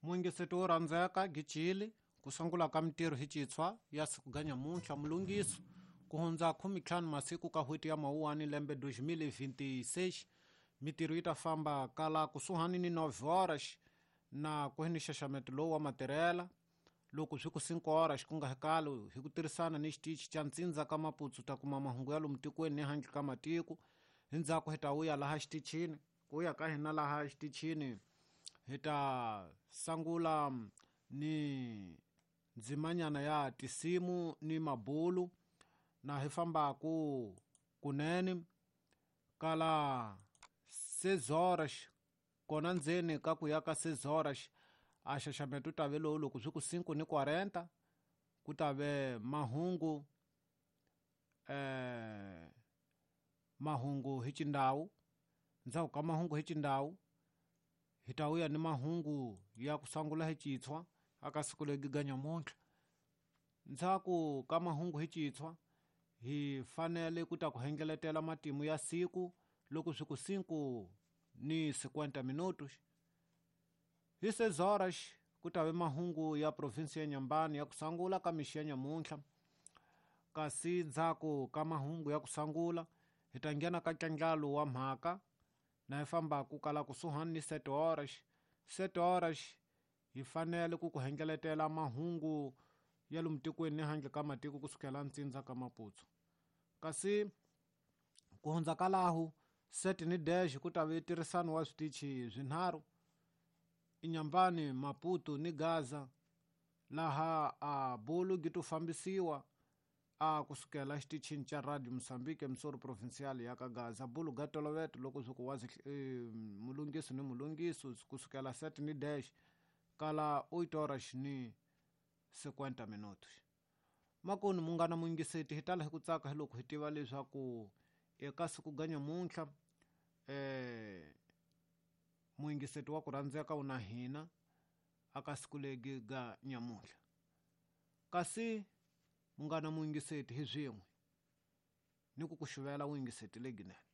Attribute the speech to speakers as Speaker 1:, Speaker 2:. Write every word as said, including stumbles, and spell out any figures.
Speaker 1: Muyingiseti wo rhandzeka Gicili ku sungula ka mintirho hi Xitshwa ya siku ga nyamuntlha mulungiso ku hundza khumitlhanu masiku ka n'hweti ya Mawuwani lembe dois mil e vinte e seis mintirho yi ta famba kala kusuhani ni nove horas na ku hi ni nxaxameto lowu wa matirhela loko swi ku cinco horas ku nga hikalo hi ku tirhisana ni xitichi xa ntsindza ka Maputo ta kuma mahungu ya lomu tikweni ni handle ka matiko hi ndzhaku hi ta vuya laha xitichini ku ya ka hina laha xitichini hi ta sungula ni ndzimanyana ya tisimu ni mabulu na hi fambaku kunene kala seis horas kona ndzeni ka ku ya ka seis horas a xaxameto ta ve lowu loko swi ku cinco ni quarenta ku ta ve mahungu eh mahungu hi xindhawu ndzhaku ka mahungu hi xindhawu hi ta vuya ni mahungu ya ku sungula hi Xitshwa aka siku leri ga nyamuntlha ndzhaku ka mahungu hi Xitshwa hi fanele ku ta ku hengeletela matimu ya siku loko swi ku cinco ni cinquenta minutos hi seis horas ku ta ve mahungu ya province ya Nyambani ya ku sungula ka mixi ya nyamuntlha kasi ndzhaku ka mahungu ya ku sungula hi ta nghena ka ntlandlalo wa mhaka na hi fambaku kala kusuhani ni sete horas sete horas hi fanele ku ku hengeletela mahungu ya lomu tikweni ni handle ka matiko kusukela ntsindza ka Maputo kasi ku hundza ka lahu sete ni dez ku ta ve tirhisano wa switichi swinharhu Inhambane, Maputo ni Gaza laha a bulu gi to fambisiwa a kusukela xitichini xa Radio Mozambique Emissora Provincial ya ka Gaza bulu ga toloveto loko swi ku wazi e, mulungiso ni mulungiso kusukela sete ni dez kala oito horas ni cinquenta minutos makoni munghana muyingiseti hi tala hi ku tsaka hi loko hi tiva leswaku eka siku ga nyamuntlha eh muyingiseti wa ku rhandzeka wu na hina aka siku legi ga nyamuntlha kasi munghana muyingiseti hi swin'we ni ku ku xuvela vuyingiseti lebyinene.